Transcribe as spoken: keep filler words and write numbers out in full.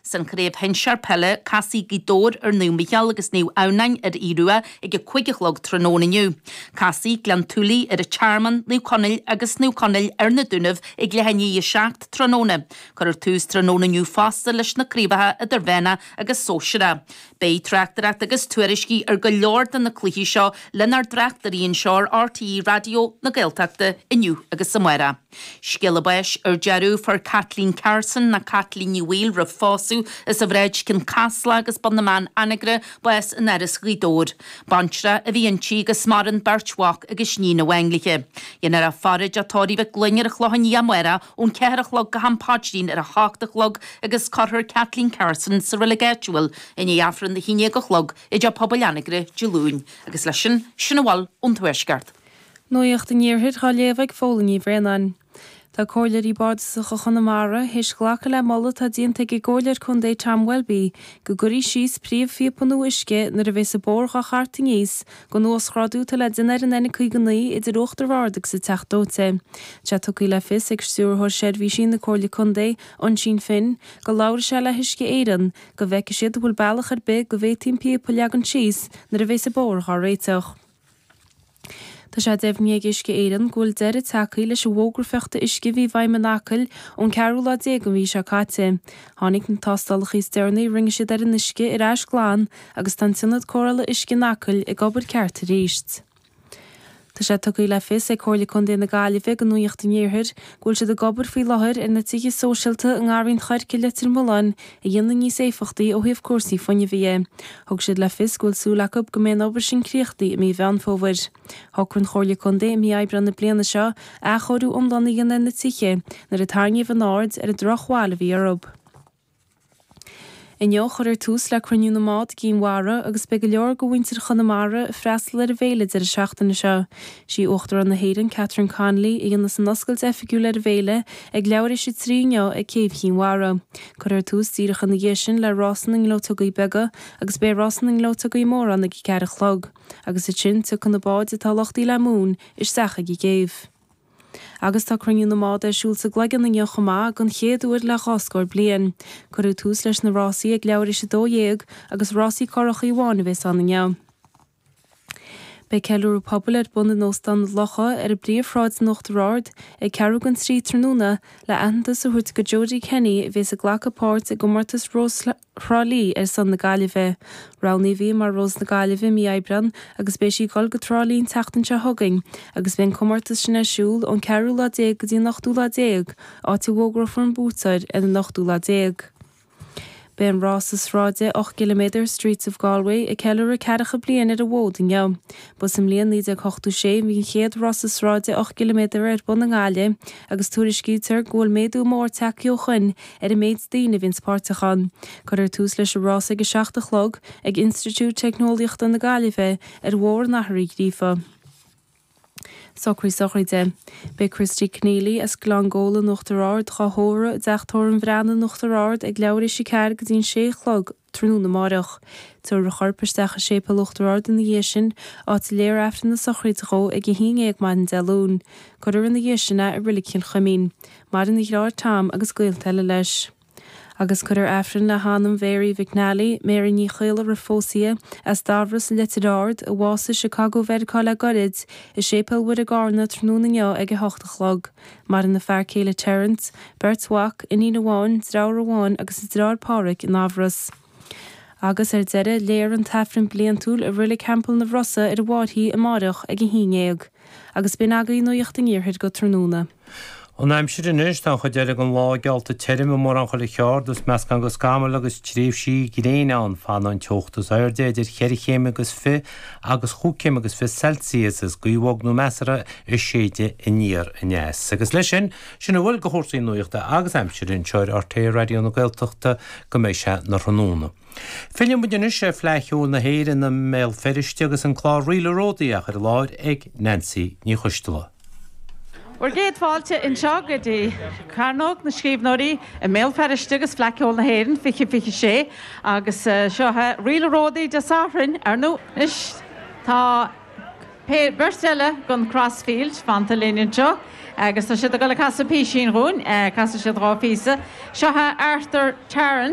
San chraobh shinsir peile casfaidh Gaoth Dobhair ar Naomh Micheál agus Naomh Adhamhnáin ar Aodh Rua ag a cúig a chlog tráthnóna inniu. Casfaidh Gleann tSúilí ar an Tearmann, Naomh Conaill agus Naomh Conaill ar na Dúnaibh ag leath i ndiaidh a seacht tráthnóna. Cuirfear tús tráthnóna inniu fosta leis na craobhacha idirmheánach agus sóisearach. Beidh tráchtaireacht agus tuairiscí ar go leor de na cluichí seo lenár dtráchtairí anseo ar RTÉ Raidió na Gaeltachta inniu agus amárach. Scéala báis ar deireadh fuair Kathleen Carson nó Caitlín Ní Bhaoill roimh phósadh as an Bhráid Cionn Caslach agus Bun na mBan Anagaire bás in Áras Ghaoth Dobhair. Baintreach a bhí inti agus maireann beirt mhac agus níon amháin léi. Déanfar í a faire i dTeach Tórraimh Mhic Gloinn ar an Chlochán Liath amárach ón ceathair a chlog go ham paidrín ar a hocht a chlog agus cuirfear Kathleen Carson sa reilig áitiúil i ndiaidh Aifreann a haon déag a chlog i dTeach Pobail Anagaire Dé Luain. Agus leis sin sin a bhfuil ón Tuaisceart. Nuacht an Iarthair á léamh ag Fódhla Ní Bhraonáin. Tá Comhairleoirí Bardasacha Chonamara théis glacadh le moladh atá déanta ag an gComhairleoir Contae Tom Welby go gcuirfí síos príomhphíopa nua uisce nuair a bheas an bóthar dhá tharraingt aníos don uasghrádú atá le déanamh ar an N caoga naoi idir Uachtar Ard agus an Teach Dóite. Tá tugtha le fios ag Stiúrthóir Seirbhísí na Comhairle Contae Oisín Finn go labhróidh sé le hUisce Éireann go bhfeicfidh siad bhfuil bealach ar bith go bhféadfaí an píopa a leagan síos nuair a bheas an bóthar dhá réiteach. Tá sé deimhnithe ag Uisce Éireann go bhfuil deireadh tagtha leis an bhfógra fiuchta uisce a bhí i bhfeidhm in Acaill ón ceathrú lá déag an mhí seo caite. Tháinig na tástálacha is deireanaí a rinne siad ar an uisce ar ais glan agus tá an t-ionad cóireála uisce in Acaill ag obair ceart arís. Tá sé tugtha le fios ag Comhairle Contae na Gaillimhe do Nuacht an Iarthair go bhfuil siad ag obair faoi láthair ar na tithe sóisialta i nGarraí an Choirce Leitir Mealláin a dhéanamh níos éifeachtaí ó thaobh cúrsaí fuinnimh dhe. Thug siad le fios go bhfuil súil acu go mbeidh an obair sin críochnaithe i mí Mheán Fómhair. Shocraigh an Chomhairle Contae i mí Aibreán na bliana seo athchóiriú iomlán a dhéanamh ar na tithe nuair a tarraingíodh an aird ar an drochbhail a bhí orthu. Inniu cuirfear tús le cruinniú na mbád i gCinn Mhara agus beidh go leor de mhuintir Chonamara ag freastal ar an bhféile deireadh seachtaine seo. Sí Uachtarán na hÉireann Catherine Connolly a dhéanfas an oscailt oifigiúil ar an bhféile ag leathuair tar éis a trí inniu ag Céibh Chinn Mhara. Cuirfear tús díreach ina dhiaidh sin le rása na ngleoiteogaí beaga agus beidh rása na ngleoiteogaí mór ann ag ceathair a chlog, agus ansin tiocfaidh na báid atá luchtaithe le móin isteach ag an gcéibh. Agus tá cruinniú na mbád ar siúl sa gCloigeann inniu chomh maith don chéad uair le dhá scór bliain. Cuireadh tús leis na rásaí ag leathuair tar éis a dó dhéag agus rásaí curachaí amháin a bheas ann inniu. Beidh ceiliúradh pobail ar bun in Óstán na Locha ar an bpríomhshráid in Uachtar Ard ag ceathrú don trí tráthnóna le aitheantas a thabhairt do Jodie Kenny a bheas ag glacadh páirt i gcomórtas Rós Thrá Lí ar son na Gaillimhe. Roghnaíodh í mar Rós na Gaillimhe mí Aibreán agus beidh sí ag dul go Trá Lí an tseachtain seo chugainn agus beidh an comórtas sin ar siúl ón ceathrú lá déag go dtí an ochtú lá déag, áit a bhfógrófar an buaiteoir ar an ochtú lá déag. Beidh an rása sráide ocht gciliméadar Streets of Galway ag ceiliúradh ceathracha bliain ar an bhfód inniu. Ba sa mbliain naoi déag ochtó sé bhí an chéad rása sráide ocht gciliméadar ar bun i nGaillimh agus tuairiscítear go bhfuil méadú mór tagtha ó shin ar an méid daoine a bhíonn páirteach ann. Cuirfear tús leis an rás ag a seacht a chlog ag Institiúid Teicneolaíochta na Gaillimhe ar Bhóthar an Athar Uí Ghríofa. Socruithe sochraide. Beidh Christy Keneally as Gleann Gabhla in Uachtar Ard dhá thórramh i dTeach Tórraimh an Bhreathnaigh in Uachtar Ard ag leathuair tar éis a ceathair go dtí an sé a chlog tráthnóna amárach. Tabharfar a chorp isteach i séipéal Uachtar Ard ina dhiaidh sin, áit a léifear Aifreann na sochraide dhó ag a haon déag maidin Dé Luain. Cuirfear ina dhiaidh sin é i Reilig Chill Chuimín. Maireann a dheartháir Tom agus gaolta eile leis. Agus cuirfear Aifreann le hanam Mhary McNally, Mary Ní Chaola roimh phósadh as Dairbhre sa Leitir Ard, a bhásaigh i Chicago Mheiriceá le gairid, i séipéal Mhuire i gCarna tráthnóna inniu ag a hocht a chlog. Maireann a fear céile Terence, beirt mhac, iníon amháin, deartháir amháin agus a deartháir Pádraig in Eamhras. Agus ar deireadh léifear an tAifreann bliantúil i Reilig Theampall na Rosa ar an bhFairche amárach ag a haon déag. Agus b'in agaibh nuacht an Iarthair go tráthnóna. An aimsir anois tá an chuid eile den lá geallta tirim i mórán chuile cheard is meascán de scamaill agus tréimhsí gréine ann fanfaidh an teocht is airde idir cheithre chéim agus fiche agus chúig chéim agus fiche Celsius is gaoth bhog nó measartha ag séideadh aniar aneas. Agus leis sin sin a bhfuil de chúrsaí nuachta agus aimsire anseo ar RTÉ Raidió na Gaeltachta go mbeidh sé na tráthnóna. Filleann muid anois ar Fleadh Cheoil na hÉireann i mBéal Feirste agus an clár Ríle Ródaí á chur i láthair ag Nancy Ní Choisteala. Bhur gcéad fáilte anseo go dtí Cearnóg na Scríbhneoirí i mBéal Feirste agus Fleadh Cheoil na hÉireann fiche fiche sé agus seo é Ríle Ródaí Dé Sathairn ar ndóigh anois tá beirt eile den Crossfield fanta linn anseo. Agus tá siad ag dul ag casadh písín dhúinn, casfaidh siad dhá phíosa. Seo Arthur Tarrant.